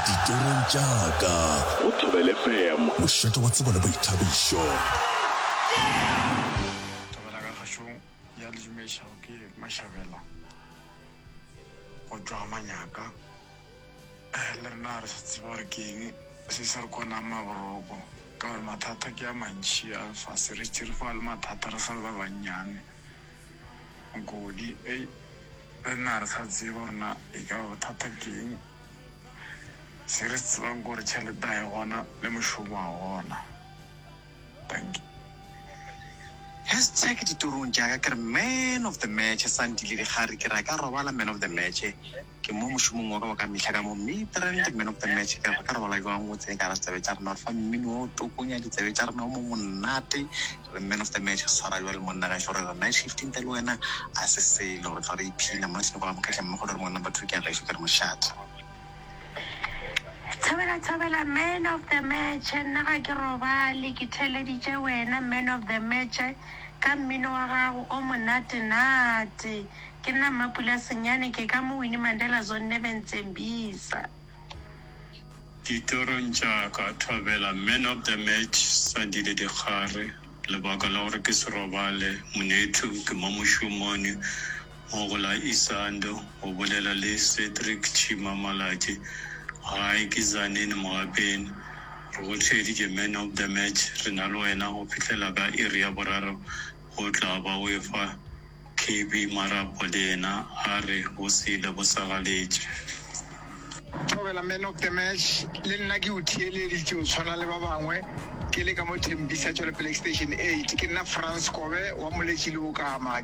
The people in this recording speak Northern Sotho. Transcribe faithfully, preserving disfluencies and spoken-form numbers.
Ditorong tša ka Go Thobela F M, mošate wa tsebo le boithabišo. Thobela ka kgašong ya le dumedišago ke Mashabela go tšwa ga Manyaka. Le rena ga re sa tseba gore ke eng se se re konang maboroko ka gore mathata ke a mantši a lefase. Re šetše re hwa le mathata re sa le ba bannyane. Nkodi, ei le rena ga re sa tseba gore na e ka ba bothata ke eng. Se re se tsebang ke gore tšhelete ga e gona le mošomo ga o gona. Dankie. Hashtag ditorong tša ka ke re man of the match Sandile Dikgari ke re a ka robala man of the match ke mo mošomong wa ka wa ka mehla ka mo Midrand man of the match ke re ba ka robala jwang o tsene ka gara ditsebe tša rena o re fa mmino wa o tokonya ditsebe tša rena o mo monate re man of the match swara jwale monna gešo re re night shift ntle le wena a se selo re tla re iphina Martin go amogela mmogo le re mo number two ke ya gešo ke re mošate. Thobela thobela man of the match nna ga ke robale ke theeleditše wena man of the match ka mmino wa gago o monate nate ke nna Mmapula Senyane ke ka mo Winnie Mandela Zone Nebentsembisa. Ditorong tša ka, Thobela man of the match Sandile Dikgare, lebaka la gore ke se robale monethu ke mo mošomong mo go la Isando go bolela le Cedric Chima Malatji gae ke Tzaneen Mogapeng re go theeditše man of the match re na le wena go fihlela ka iri ya boraro go tla ba o efa K B marapo le yena a re bo sele bo sa galetše. Thobela man of the match le nna ke o theeleditše o tshwana le ba bangwe ke le ka mo Tembisa Tšwelopele Extension eight ke nna Frans Kobe wa Moletši le Okama.